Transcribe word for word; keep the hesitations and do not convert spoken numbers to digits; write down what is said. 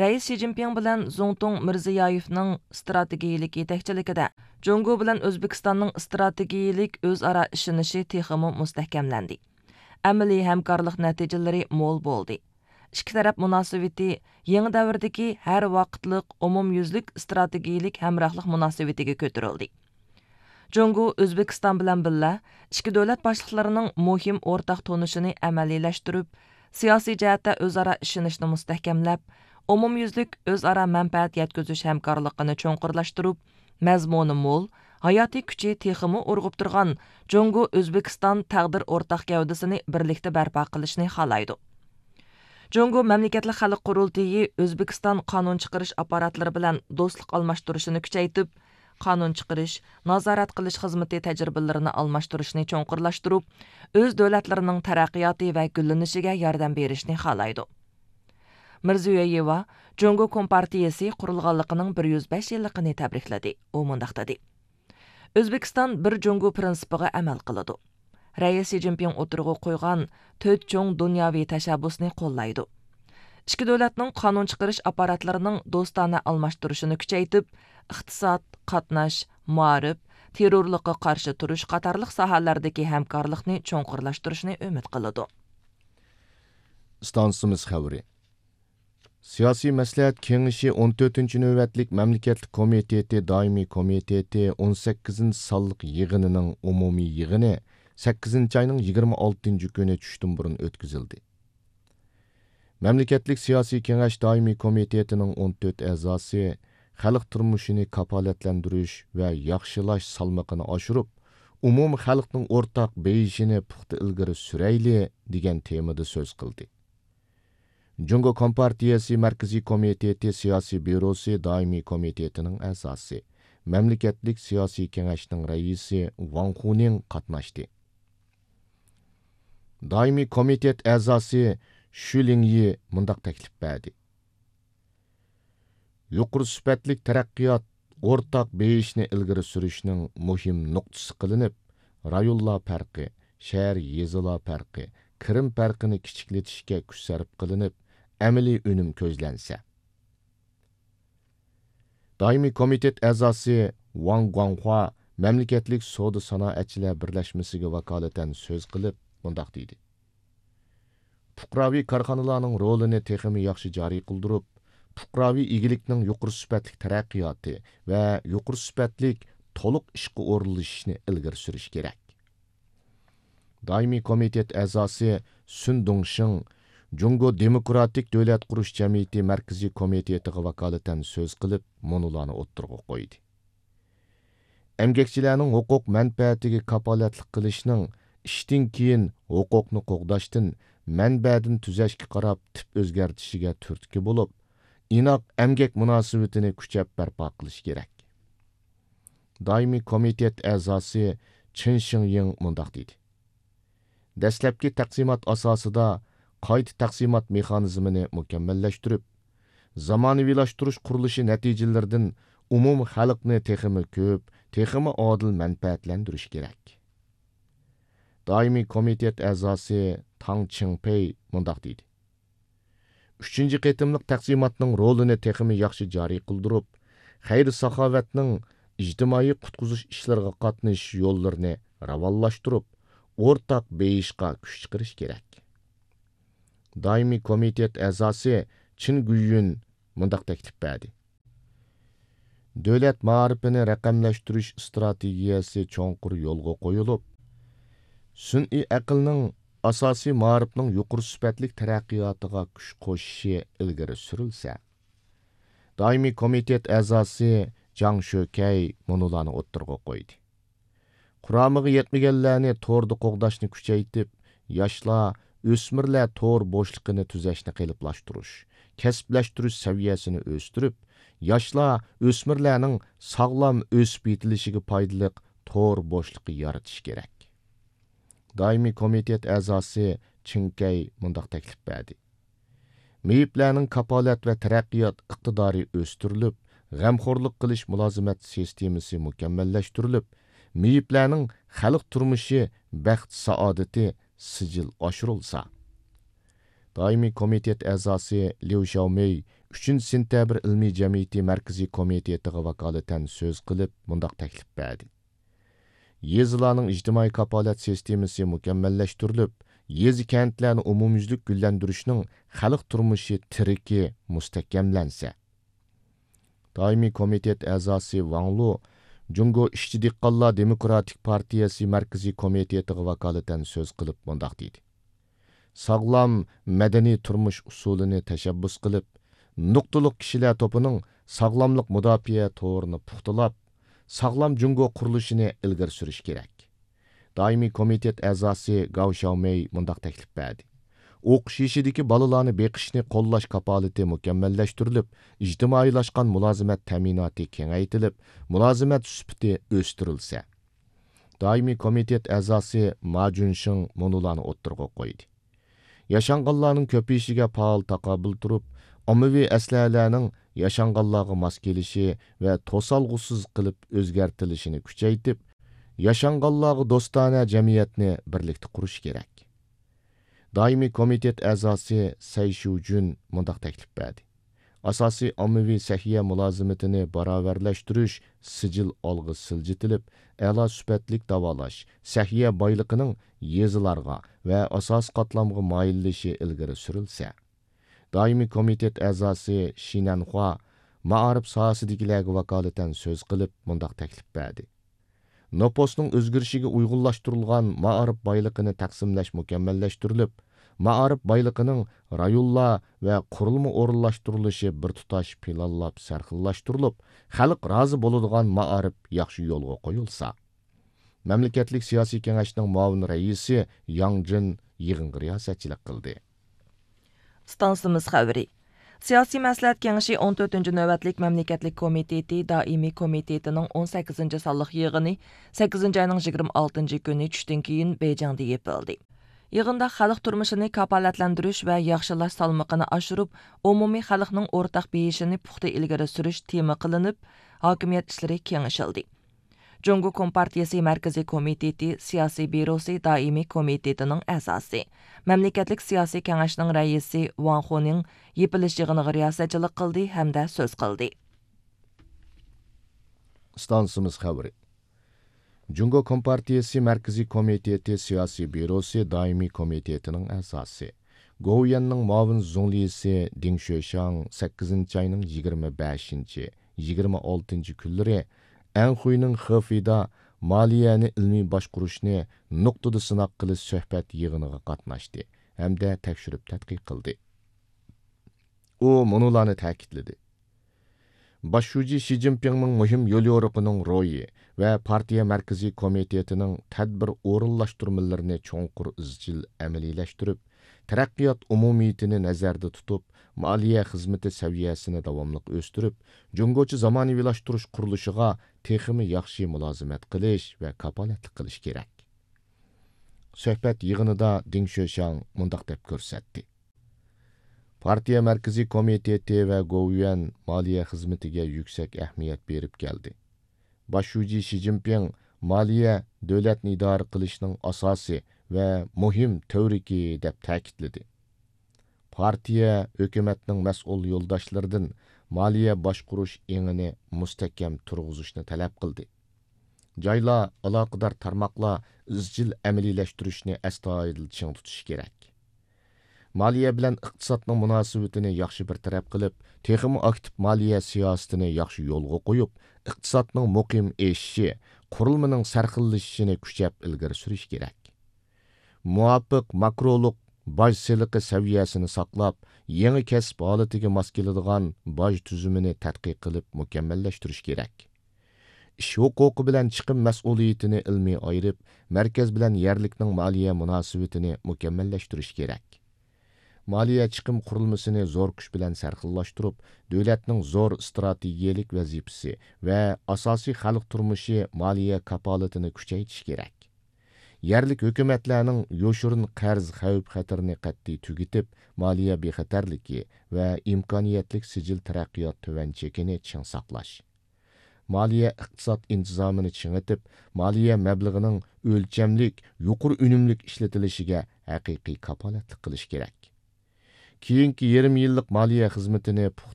رەئىس شى جىنپىڭ بىلەن زۇڭتۇڭ مىرزىيايېۋنىڭ ئىستراتېگىيىلىك يېتەكچىلىكىدە جۇڭگو بىلەن ئۆزبېكىستاننىڭ ئىستراتېگىيىلىك ئۆزئارا ئىشىنىشى تېخىمۇ مۇستەھكەملەندى. ئەمەلىي ھەمكارلىق نەتىجىلىرى مول بولدى. ئىككى تەرەپ مۇناسىۋىتى يېڭى دەۋردىكى ھەر ۋاقىتلىق ئومۇميۈزلۈك ئىستراتېگىيىلىك ھەمراھلىق مۇناسىۋىتىگە كۆتۈرۈلدى. جۇڭگو ئۆزبېكىستان بىلەن بىللە ئىككى دۆلەت باشلىقلىرىنىڭ مۇھىم ئورتاق تونۇشىنى ئەمەلىيلەشتۈرۈپ، سىياسىي جەھەتتە ئۆزئارا ئىشىنىشنى مۇستەھكەملەپ، ئومۇميۈزلۈك ئۆزئارا مەنپەئەت يەتكۈزۈش ھەمكارلىقىنى چوڭقۇرلاشتۇرۇپ، مەزمۇنى مول، ھاياتىي كۈچى تېخىمۇ ئۇرغۇپ تۇرغان جۇڭگو ئۆزبېكىستان تەقدىر ئورتاق گەۋدىسىنى بىرلىكتە بەرپا قىلىشنى خالايدۇ. جۇڭگو مەملىكەتلىك خەلق قۇرۇلتىيى ئۆزبېكىستان قانۇن چىقىرىش ئاپپاراتلىرى بىلەن دوستلۇق ئالماشتۇرۇشىنى كۈچەيتىپ، قانۇن چىقىرىش، نازارەت قىلىش خىزمىتى تەجرىبىلىرىنى ئالماشتۇرۇشنى چوڭقۇرلاشتۇرۇپ، ئۆز دۆلەتلىرىنىڭ تەرەققىياتى ۋە گۈللىنىشىگە ياردەم بېرىشنى خالايدۇ. مىرزىيۆيېۋا جۇڭگو كومپارتىيىسى قۇرۇلغانلىقىنىڭ بىر يۈز بەش يىللىقىنى تەبرىكلىدى. ئۇ مۇنداق دېدى: ئۆزبېكىستان بىر جۇڭگو پىرىنسىپىغا ئەمەل قىلىدۇ. رەئىس شى جىنپىڭ ئوتتۇرىغا قويغان تۆت چوڭ دۇنياۋى تەشەببۇسنى قوللايدۇ. ئىككى دۆلەتنىڭ قانۇن چىقىرىش ئاپپاراتلىرىنىڭ دوستانە ئالماشتۇرۇشىنى كۈچەيتىپ، ئىقتىساد، قاتناش، مائارىپ، تېررورلۇققا قارشى تۇرۇش قاتارلىق ساھەلەردىكى ھەمكارلىقنى چوڭقۇرلاشتۇرۇشنى ئۈمىد قىلىدۇ. ئىستانسىمىز خەۋىرى. سىياسىي مەسلىھەت كېڭىشى ئون تۆتىنچى نۆۋەتلىك مەملىكەتلىك كومىتېتى دائىمىي كومىتېتى ئون سەككىزىنچى سانلىق يىغىنىنىڭ ئومۇمىي يىغىنى سەككىزىنچى ئاينىڭ يىگىرمە ئالتىنچى كۈنى چۈشتىن بۇرۇن ئۆتكۈزۈلدى. مەملىكەتلىك سىياسىي كېڭەش دائىمىي كومىتېتىنىڭ ئون تۆت ئەزاسى خەلق تۇرمۇشىنى كاپالەتلەندۈرۈش ۋە ياخشىلاش سالمىقىنى ئاشۇرۇپ، ئومۇمىي خەلقنىڭ ئورتاق بېيىشىنى پۇختا ئىلگىرى سۈرەيلى، دېگەن تېمىدا سۆز قىلدى. جۇڭگو كومپارتىيەسى مەركىزىي كومىتېتى سىياسىي بيۇروسى دائىمىي كومىتېتىنىڭ ئەزاسى، مەملىكەتلىك سىياسىي كېڭەشنىڭ رەئىسى ۋاڭ خۇنىڭ قاتناشتى. دائىمىي كومىتېت ئەزاسى شۈ لىڭيى مۇنداق تەكلىپ بەردى: يۇقىرى سۈپەتلىك تەرەققىيات، ئورتاق بېيىشنى ئىلگىرى سۈرۈشنىڭ مۇھىم نۇقتىسى قىلىنىپ، رايونلار پەرقى، شەھەر، يېزىلار پەرقى، كىرىم پەرقىنى كىچىكلىتىشكە كۈچ سەرپ قىلىنىپ، ئەمەلىي ئۈنۈم كۆزلەنسە. دائىمىي كومىتېت ئەزاسى ۋاڭ گۇاڭخۇا مەملىكەتلىك سودا سانائەتچىلەر بىرلەشمىسىگە ۋاكالىتەن سۆز قىلىپ، مۇنداق دېدى: پۇقراۋى كارخانىلارنىڭ رولىنى تېخىمۇ ياخشى جارى قىلدۇرۇپ، پۇقراۋى ئىگىلىكنىڭ يۇقىرى سۈپەتلىك تەرەققىياتى ۋە يۇقىرى سۈپەتلىك تولۇق ئىشقا ئورۇنلىشىشنى ئىلگىرى سۈرۈش كېرەك. دائىمىي كومىتېت ئەزاسى سۈن دۇڭشىڭ جۇڭگو دېموكراتىك دۆلەت قۇرۇش جەمئىيىتى مەركىزىي كومىتېتىغا ۋاكالىتەن سۆز قىلىپ، مۇنۇلارنى ئوتتۇرىغا قويدى: ئەمگەكچىلەرنىڭ ھوقۇق مەنپەئەتىگە كاپالەتلىك قىلىشنىڭ ئىشتىن كېيىن ھوقۇقنى قوغداشتىن، مەنبەدىن تۈزەشكە قاراپ تىپ ئۆزگەرتىشىگە تۈرتكە بولۇپ، ئىناق ئەمگەك مۇناسىۋىتىنى كۈچەپ بەرپا قىلىش كېرەك. دائىمىي كومىتېت ئەزاسى چېن شىڭيىڭ مۇنداق دېدى: دەسلەپكى تەقسىمات ئاساسىدا قايتا تەقسىمات مېخانىزمىنى مۇكەممەللەشتۈرۈپ، زامانىۋىلاشتۇرۇش قۇرۇلۇشى نەتىجىلىرىدىن ئومۇمىي خەلقنى تېخىمۇ كۆپ، تېخىمۇ ئادىل مەنپەئەتلەندۈرۈش كېرەك. دائىمىي كومىتېت ئەزاسى تاڭ چىڭپېي مۇنداق دېدى: ئۈچىنچى قېتىملىق تەقسىماتنىڭ رولىنى تېخىمۇ ياخشى جارى قىلدۇرۇپ، خەير-ساخاۋەتنىڭ، ئىجتىمائىي قۇتقۇزۇش ئىشلىرىغا قاتنىشىش يوللىرىنى راۋانلاشتۇرۇپ، ئورتاق بېيىشقا كۈچ چىقىرىش كېرەك. دائىمىي كومىتېت ئەزاسى چېن گۈيۈن مۇنداق تەكلىپ بەردى: دۆلەت مائارىپىنى رەقەملەشتۈرۈش ئىستراتېگىيەسى چوڭقۇر يولغا قويۇلۇپ، سۈنئىي ئەقىلنىڭ ئاساسىي مائارىپنىڭ يۇقىرى سۈپەتلىك تەرەققىياتىغا كۈچ قوشۇشى ئىلگىرى سۈرۈلسە. دائىمىي كومىتېت ئەزاسى جاڭ شۆكەي مۇنۇلارنى ئوتتۇرىغا قويدى: قۇرامىغا يەتمىگەنلەرنى توردا قوغداشنى كۈچەيتىپ، ياشلار، ئۆسمۈرلەر تور بوشلۇقىنى تۈزەشنى قېلىپلاشتۇرۇش، كەسىپلەشتۈرۈش سەۋىيەسىنى ئۆستۈرۈپ، ياشلار، ئۆسمۈرلەرنىڭ ساغلام ئۆسۈپ يېتىلىشىگە پايدىلىق تور بوشلۇقى يارىتىش كېرەك. دائىمىي كومىتېت ئەزاسى چىڭ كەي مۇنداق تەكلىپ بەردى: مېيىپلەرنىڭ كاپالەت ۋە تەرەققىيات ئىقتىدارى ئۆستۈرۈلۈپ، غەمخورلۇق قىلىش مۇلازىمەت سىستېمىسى مۇكەممەللەشتۈرۈلۈپ، مېيىپلەرنىڭ خەلق تۇرمۇشى، بەخت-سائادىتى سىجىل ئاشۇرۇلسا. دائىمىي كومىتېت ئەزاسى ليۇ شياۋمېي ئۈچىنچى سېنتەبىر ئىلمىي جەمئىيىتى مەركىزىي كومىتېتىغا ۋاكالىتەن سۆز قىلىپ، مۇنداق تەكلىپ بەردى: يېزىلارنىڭ ئىجتىمائىي كاپالەت سىستېمىسى مۇكەممەللەشتۈرۈلۈپ، يېزا، كەنتلەرنى ئومۇميۈزلۈك گۈللەندۈرۈشنىڭ خەلق تۇرمۇشى تىرىكى مۇستەھكەملەنسە، دائىمىي كومىتېت ئەزاسى ۋاڭ لۇ جۇڭگو ئىشچى دېھقانلار دېموكراتىك پارتىيەسى مەركىزىي كومىتېتىغا ۋاكالىتەن سۆز قىلىپ مۇنداق دېدى: ساغلام مەدەنىي تۇرمۇش ئۇسۇلىنى تەشەببۇس قىلىپ، نۇقتىلىق كىشىلەر توپىنىڭ ساغلاملىق مۇداپىئە تورىنى پۇختىلاپ، ساغلام جۇڭگو قۇرۇلۇشىنى ئىلگىرى سۈرۈش كېرەك. دائىمىي كومىتېت ئەزاسى گاۋ شياۋمېي مۇنداق تەكلىپ بەردى: ئوقۇش يېشىدىكى بالىلارنى بېقىشنى قوللاش كاپالىتى مۇكەممەللەشتۈرۈلۈپ، ئىجتىمائىيلاشقان مۇلازىمەت تەمىناتى كېڭەيتىلىپ، مۇلازىمەت سۈپىتى ئۆستۈرۈلسە. دائىمىي كومىتېت ئەزاسى ما جۈنشېڭ مۇنۇلارنى ئوتتۇرىغا قويدى: ياشانغانلارنىڭ كۆپىيىشىگە پائال تاقابىل تۇرۇپ، ئاممىۋى ئەسلىھەلەرنىڭ ياشانغانلارغا ماس كېلىشى ۋە توسالغۇسىز قىلىپ ئۆزگەرتىلىشىنى كۈچەيتىپ، ياشانغانلارغا دوستانە جەمئىيەتنى بىرلىكتە قۇرۇش كېرەك. دائىمىي كومىتېت ئەزاسى سەي شۇجۈن مۇنداق تەكلىپ بەردى: ئاساسىي ئاممىۋى سەھىيە مۇلازىمىتىنى باراۋەرلەشتۈرۈش سىجىل ئالغا سىلجىتىلىپ، ئەلا سۈپەتلىك داۋالاش، سەھىيە بايلىقىنىڭ يېزىلارغا ۋە ئاساسىي قاتلامغا مايىللىشى ئىلگىرى سۈرۈلسە. دائىمىي كومىتېت ئەزاسى شى نەنخۇا مائارىپ ساھەسىدىكىلەرگە ۋاكالىتەن سۆز قىلىپ، مۇنداق تەكلىپ بەردى: نوپۇسنىڭ ئۆزگىرىشىگە ئۇيغۇنلاشتۇرۇلغان مائارىپ بايلىقىنى تەقسىملەش مۇكەممەللەشتۈرۈلۈپ، مائارىپ بايلىقىنىڭ رايونلار ۋە قۇرۇلما ئورۇنلاشتۇرۇلۇشى بىر تۇتاش پىلانلاپ سەرخىللاشتۇرۇلۇپ، خەلق رازى بولىدىغان مائارىپ ياخشى يولغا قويۇلسا. مەملىكەتلىك سىياسىي كېڭەشنىڭ مۇئاۋىن رەئىسى ياڭ جىن يىغىنغا رىياسەتچىلىك قىلدى. ئىستانسىمىز خەۋىرى. سىياسىي مەسلىھەت كېڭىشى ئون تۆتىنچى نۆۋەتلىك مەملىكەتلىك كومىتېتى دائىمىي كومىتېتىنىڭ ئون سەككىزىنچى سانلىق يىغىنى سەككىزىنچى ئاينىڭ يىگىرمە ئالتىنچى كۈنى چۈشتىن كېيىن بېيجىڭدا يېپىلدى. يىغىندا خەلق تۇرمۇشىنى كاپالەتلەندۈرۈش ۋە ياخشىلاش سالمىقىنى ئاشۇرۇپ، ئومۇمىي خەلقنىڭ ئورتاق بېيىشىنى پۇختا ئىلگىرى سۈرۈش تېما قىلىنىپ، ھاكىمىيەت ئىشلىرى كېڭىشىلدى. جۇڭگو كومپارتىيىسى مەركىزىي كومىتېتى سىياسىي بيۇروسى دائىمىي كومىتېتىنىڭ ئەزاسى، مەملىكەتلىك سىياسىي كېڭەشنىڭ رەئىسى ۋاڭ خۇنىڭ يېپىلىش يىغىنىغا رىياسەتچىلىك قىلدى ھەمدە سۆز قىلدى. ئىستانسىمىز خەۋىرى. جۇڭگو كومپارتىيىسى مەركىزىي كومىتېتى سىياسىي بيۇروسى دائىمىي كومىتېتىنىڭ ئەزاسى، گوۋۇيۈەننىڭ مۇئاۋىن زۇڭلىسى دىڭ شۆشياڭ سەككىزىنچى ئاينىڭ يىگىرمە بەشىنچى، يىگىرمە ئالتىنچى كۈنلىرى ئەنخۇينىڭ خېفېيدا مالىيەنى ئىلمىي باشقۇرۇشنى نۇقتىدا سىناق قىلىش سۆھبەت يىغىنىغا قاتناشتى ھەمدە تەكشۈرۈپ تەتقىق قىلدى. ئۇ مۇنۇلارنى تەكىتلىدى: باش شۇجى شى جىنپىڭنىڭ مۇھىم يوليورۇقىنىڭ روھى ۋە پارتىيە مەركىزىي كومىتېتىنىڭ تەدبىر ئورۇنلاشتۇرمىلىرىنى چوڭقۇر ئىزچىل ئەمەلىيلەشتۈرۈپ، تەرەققىيات ئومۇمىيىتىنى نەزەردە تۇتۇپ، مالىيە خىزمىتى سەۋىيەسىنى داۋاملىق ئۆستۈرۈپ، جۇڭگوچە زامانىۋىلاشتۇرۇش قۇرۇلۇشىغا تېخىمۇ ياخشى مۇلازىمەت قىلىش ۋە كاپالەتلىك قىلىش كېرەك. سۆھبەت يىغىنىدا دىڭ شۆشياڭ مۇنداق دەپ كۆرسەتتى: پارتىيە مەركىزىي كومىتېتى ۋە گوۋۇيۈەن مالىيە خىزمىتىگە يۈكسەك ئەھمىيەت بېرىپ كەلدى. باش شۇجى شى جىنپىڭ مالىيە دۆلەتنى ئىدارە قىلىشنىڭ ئاساسى ۋە مۇھىم تۈۋرۈكى دەپ تەكىتلىدى. پارتىيە، ھۆكۈمەتنىڭ مەسئۇل يولداشلىرىدىن مالىيە باشقۇرۇش ئېڭىنى مۇستەھكەم تۇرغۇزۇشنى تەلەپ قىلدى. جايلار، ئالاقىدار تارماقلار ئىزچىل ئەمەلىيلەشتۈرۈشنى ئەستايىدىل چىڭ تۇتۇشى كېرەك. مالىيە بىلەن ئىقتىسادنىڭ مۇناسىۋىتىنى ياخشى بىر تەرەپ قىلىپ، تېخىمۇ ئاكتىپ مالىيە سىياسىتىنى ياخشى يولغا قويۇپ، ئىقتىسادنىڭ مۇقىم ئېشىشى، قۇرۇلمىنىڭ سەرخىللىشىشىنى كۈچەپ ئىلگىرى سۈرۈش كېرەك. مۇۋاپىق ماكرولۇق باج سېلىقى سەۋىيەسىنى ساقلاپ، يېڭى كەسىپ ھالىتىگە ماس كېلىدىغان باج تۈزۈمىنى تەتقىق قىلىپ مۇكەممەللەشتۈرۈش كېرەك. ئىش ھوقۇقى بىلەن چىقىم مەسئۇلىيىتىنى ئىلمىي ئايرىپ، مەركەز بىلەن يەرلىكنىڭ مالىيە مۇناسىۋىتىنى مۇكەممەللەشتۈرۈش كېرەك. مالىيە چىقىم قۇرۇلمىسىنى زور كۈچ بىلەن سەرخىللاشتۇرۇپ، دۆلەتنىڭ زور ئىستراتېگىيەلىك ۋەزىپىسى ۋە ئاساسىي خەلق تۇرمۇشى مالىيە كاپالىتىنى كۈچەيتىش كېرەك. يەرلىك ھۆكۈمەتلەرنىڭ يوشۇرۇن قەرز خەۋپ-خەتىرىنى قەتئىي تۈگىتىپ، مالىيە بىخەتەرلىكى ۋە ئىمكانىيەتلىك سىجىل تەرەققىيات تۆۋەن چېكىنى چىڭ ساقلاش. مالىيە ئىقتىساد ئىنتىزامىنى چىڭىتىپ، مالىيە مەبلىغىنىڭ ئۆلچەملىك، يۇقىرى ئۈنۈملۈك ئىشلىتىلىشىگە ھەقىقىي كاپالەتلىك قىلىش كېرەك. كېيىنكى يېرىم يىللىق مالىيە خىزمىتىنى پۇختا